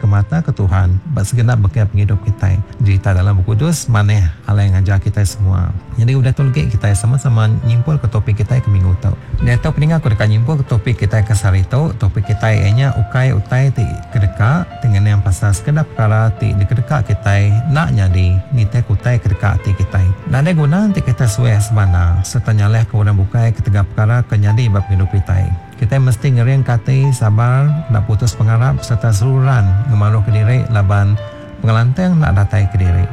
dikemata ke Tuhan ba segenap bengkah pengidup kitai. Jerita dalam Bup Kudus manah alai ngajar kitai semua. Nyadi udah tu legi kitai sama-sama nyimpulka topik kitai ke minggu tu. Diatu peninga aku deka nyimpulka topik kitai ke sehari tu. Topik kitai iya nya ukai utai ti kedeka ti ngenang pasal sekeda pekara ti dikedeka kitai enda nyadi nitihka utai kedeka ati kitai. Nadai guna enti kitai suah sebana sereta nyalahka orang bukai ketegal pekara ke nyadi ba pengidup kitai. Kitai mesti ngeringka ati, sabar, enda putus pengarap sereta seruran ngemaruhka diri laban pengelantang enda datai kediri.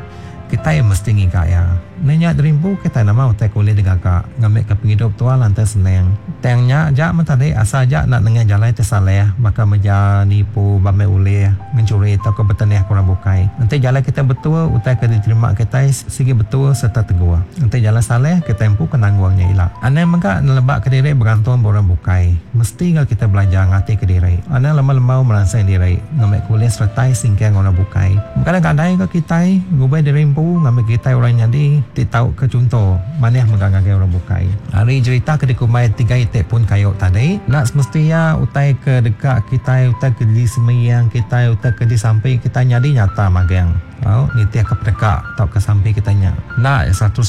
Kitai mesti ngiga iya. Enda nya derimpu kitai nama utai ke ulih digaga ngambika pengidup tua lantang senang. Tang nya aja meh tadi asal aja enda nengah jalai ti salah baka meja, nipu, bambai ulih, ngenchuri tauka betenih ke orang bukai. Enti jalai kitai betul utai ke diterima kitai sigi betul sereta teguh. Enti jalai salah kitai empu ke nanggung nya ila. Anang mega nelebaka diri begantung ba orang bukai. Mesti ga kitai belajar ngatika diri. Anang lembau-lembau meransang diri. Ngambi ke ulih seretai singkang orang bukai. Begadai-gadai ga kitai ngubah diri empu ngambi kitai orang nyadi ti tau ke chunto manah mega ngagai orang bukai. Ari jerita ke dikumbai tiga iti pun kayu tadi, enda semesti iya utai ke deka kitai, utai ke disembiang kitai, utai ke disampi kitai nyadi nyata magang. Au nitihka peneka tauka sampi kitai nya enda 100%.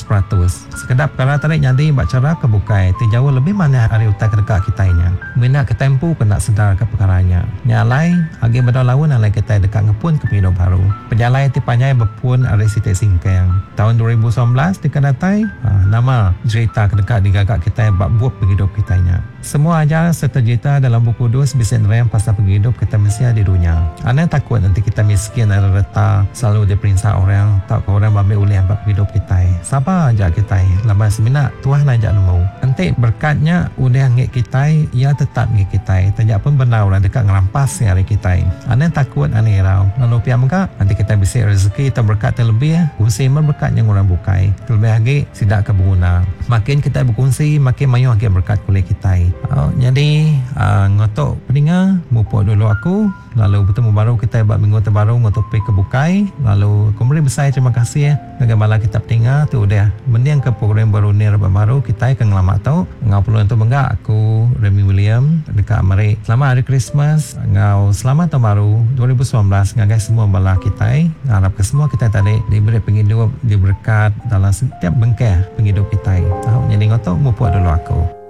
Sekeda pekara tadi nyadi ba chara ke bukai ti jauh lebih manah ari utai ke deka kitai nya. Mina kitai empu ke enda sedarka pekara nya. Nya alai, agi bedau laun alai kitai deka ngepunka pengidup baru. Pejalai ti panjai bepun ari siti singkang. Taun 2019 deka datai, nama jerita ke deka digaga kitai ba bup pengidup kitai nya? Semua ajar sereta jerita dalam Bup Kudus bisi nerang pasal pengidup kitai mensia di dunya. Anang takut enti kitai miskin ari reta, selalu diperinsa orang, tauka orang bambi ulih ba pengidup kitai. Sabar aja kitai laban semina Tuhan aja nemu. Enti berekat nya udah enggi kitai, iya tetap enggi kitai taja pun bendar orang deka ngerampas iya ari kitai. Anang takut, anang irau. Lalu pia mega, enti kitai bisi rezeki tau berekat ti lebih, kunsi meh berekat nya enggau orang bukai. Kelebih agi, Sida ke beguna. Makin kitai bekunsi, makin mayuh agi berekat kulit kitai. Nyadi, enggau tu peninga, mupuk dulu aku, lalu betemu baru kitai ba minggu ti baru enggau topik ke bukai. Lalu aku meri besai terima kasih ngagai bala kita peninga ti udah mendingka program Berunding Rebak Baru kitai ke ngelama tu. Enggau peluang tu mega aku, Remy William, deka meri Selamat Hari Krismas enggau Selamat Taun Baru 2019 ngagai semua bala kitai. Ngarapka semua kitai tadi diberi pengidup, diberekat dalam setiap bengkah pengidup kitai. Tau nyadi enggau tu mupuk dulu aku.